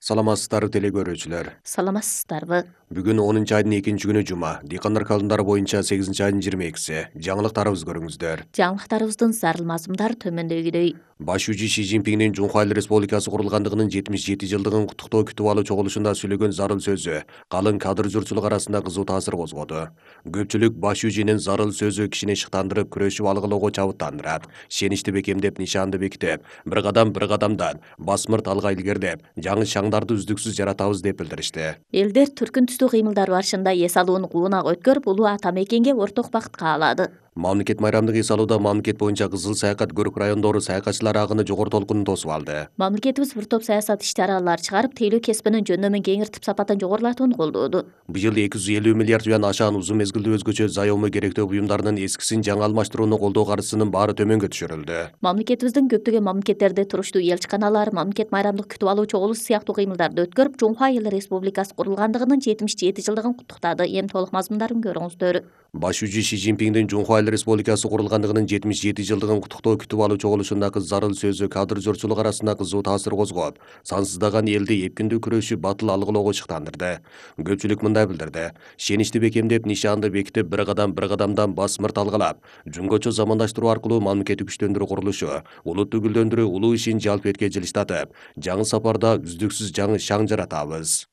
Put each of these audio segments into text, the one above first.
Саламатсыздарбы теле көрүүчүлөр. Саламатсыздарбы? Бүгүн 10-айдын 2-күнү жума. Дыйкандар календары боюнча 8-айдын 22-си. Жаңылыктарыбызды көрүңүздөр. Жаңылыктарыбыздын зарыл мазмундары төмөндөгүдөй. Баш УЖ Ши Цзиньпиндин Жунхва Эл Республикасы курулгандыгынын 77 жылдыгын куттуктоо күтүп алуу чогулушунда сүйлөгөн зарыл сөзү калың кадыр журтчулук арасында кызуу таасир козгоду. Көпчүлүк Баш УЖнин зарыл сөзү кишини шыктандырып, күрөшүп алгылоого чабыттандырат. Шеничти бекемдеп, нишанды бекитип, бир кадамдан басмырт алга илгерилеп, жаңы шаңдарды үздүксүз жаратабыз деп билдиришти. Элдер түркүн түстүү кыймылдар барышында эс алууну куунак өткөрүп, улуу ата мекенге орток бакыт каалады. Мамлекет майрамдык эс алууда мамлекет боюнча Кызыл саякат көрүк райондору саякатчылар агыны жогору толкунун тосуп алды. Мамлекетибиз бир топ саясат иш-чаралар чыгарып, тейлөө кесибинин жөндөмүн кеңиртип, сапатын жогорулатууну колдоду. Быйыл 250 миллиард юан ашаан uzun мезгилдүү өзгөчө заёму керектөө буюмдарынын эскисин жаңы алмаштырууну колдоо каржысынын баары төмөнгө түшүрүлдү. Мамлекетибиздин көптөгөн мамлекеттерде туруштуу элчиканалар, мамлекет майрамдык күтүп алуу чогулушу сыяктуу кыймылдарды өткөрүп, Жунхва Эл Республикасы курулгандыгынын 77 жылдыгын куттуктады. Эми толук мазмундарын көрүңүздөр. Баш УЖ Ши Цзиньпиндин Жунхва Эл Республикасы курулгандыгынын 77 жылдыгын куттуктоо күтүп алуу чогулушундагы зарыл сөзү кадыр журтчулук арасында кызуу таасир козгоп, сансыздаган элди эпкиндүү күрөшүп, батыл алгылоого шыктандырды. Көпчүлүк мындай билдирди: шеничти бекемдеп, нишанды бекитип, бир кадамдан басмырт алгалап, жөнгөчө замандаштыруу аркылуу мамлекетти күчтөндүрүү курулушу, улутту гүлдөндүрүү улуу ишин жалпы этке жылыштатып, жаңы сапарда үздүксүз жаңы шаң жаратабыз.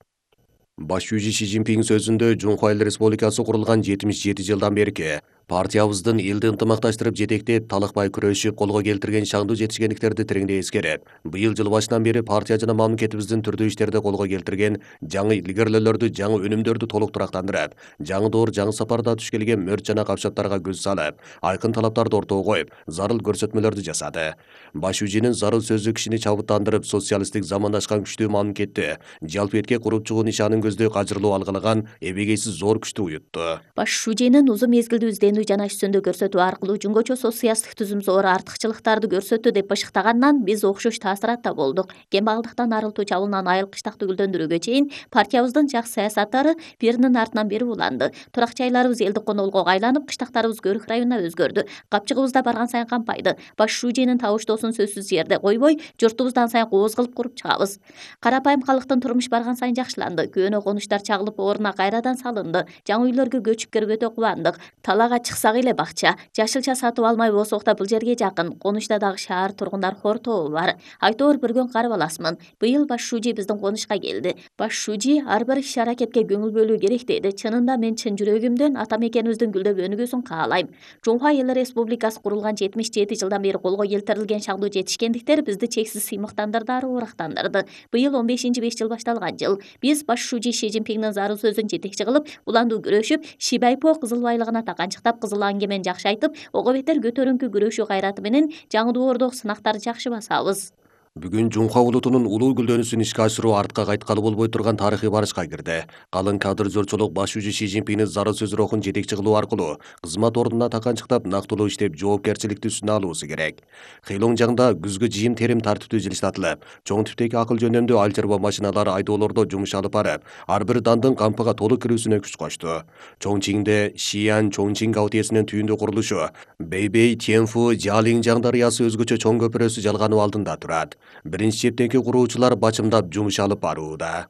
Баш УЖ Ши Цзиньпин сөзүндө Жунхва Эл Республикасы курулган 77 жылдан берки партиябыздын элди ынтымакташтырып жетектеп, талыкпай күрөшүп, колго келтирген шаңдуу жетишкендиктерди тереңдей эскерип, быйыл жыл башынан бери партия жана мамлекетибиздин түрдүү иштерде колго келтирген жаңы илгерилөөлөрдү, жаңы өнүмдөрдү толук турактандырып, жаңы доор, жаңы сапарда туш келген мөрт жана капчаттарга көз салып, айкын талаптарды ортого коюп, зарыл көрсөтмөлөрдү жасады. Баш УЖнин зарыл сөзү кишини чабыттандырып, социалисттик замандашкан күчтүү мамлекетти жалпы этке куруп чыгуу нишанын көздөй кажырлуу алгылаган эбегейсиз зор күчтү уютту. Баш УЖнин узун мезгилдүү жана ишсөндү көрсөтүү аркылуу жөнгөчө социалисттик түзүм зор артыкчылыктарды көрсөттү деп бышыктагандан биз окшош таасиратта болдук. Кембагалдыктан арылтуу чабуулунан айыл-кыштакты гүлдөндүрүүгө чейин партиябыздын жакшы саясаттары биринин артынан бири уланды. Турак жайларыбыз элдик конолгого айланып, кыштактарыбыз көрүк районуна өзгөрдү. Капчыгыбыз да барган сайын кампайды. Баш УЖнин табыштоосун сөзсүз жерде койбой, журтубузду ан сайын кооз кылып куруп чыгабыз. Карапайым калктын турмуш барган сайын жакшыланды. Көөнө конуштар чагылып, ордуна кайрадан салынды. Жаңы үйлөргө көчүп кирип өтө кубандык. Талаага чыксак эле бакча, жашылча сатып алмай болсок да бул жерге жакын. Конучта дагы шаар тургундар хор тобу бар. Айтор бир күн карып аласмын. Быйыл Баш УЖ биздин конушка келди. Баш УЖ ар бир иш-аракетке көңүл бөлүү керек деди. Чынында мен чын жүрөгүмдөн ата мекенибиздин гүлдөп өнүгүүсүн каалайм. Жунхва Эл Республикасы курулган 77 жылдан бери колго келтирилген шаңдуу жетишкендиктер бизди чексиз сыймыктандырды, урактандырды. Быйыл 15-5 жыл башталган жыл. Биз Баш УЖ Ши Цзиньпиндин зарыл сөзүн жетекчи кылып, уландуу күрөшүп, Шибайпо кызыл байлыгына таканчыктап, кызыл аңгемен жакшы айтып, ого бетер көтөрүңкү күрөшүү кайраты менен жаңы доордогу сынактарды жакшы басабыз. Бүгүн Жунхва улутунун улуу гүлдөнүүсүн ишке ашыруу артка кайткалы болбой турган тарыхый барышка кирди. Калың кадыр журтчулук Баш УЖ Ши Цзиньпиндин зарыл сөз рухун жетекчи кылуу аркылуу кызмат ордуна таканчыктап, нактылуу иштеп, жоопкерчиликти үстүнө алуусу керек. Хейлоңжаңда күзгү жыйын терим тартиптүү жылыштатылып, чоң типтеги акыл жөндөмдүү ал чарба машиналары айдоолордо жумуш алып барып, ар бир дандын кампыга толук кирүүсүнө күч кошту. Чоңчиңде Шиян Чоңчиң гаутиесинин түйүндү курулушу Бэйбэй Тяньфу Жалиңжаң дарыясы өзгөчө чоң көпүрөсү жалгануу алдында турат. Биринчи чептеги куруучулар бачымдап жумуш алып барууда.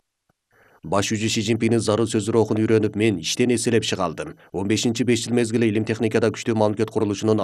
Баш УЖ Ши Цзиньпиндин зарыл сөзү рухун үйрөнүп, мен иштен эселеп чыга алдым. 15-5 жыл мезгили илим техникада күчтүү мамлекет курулушунун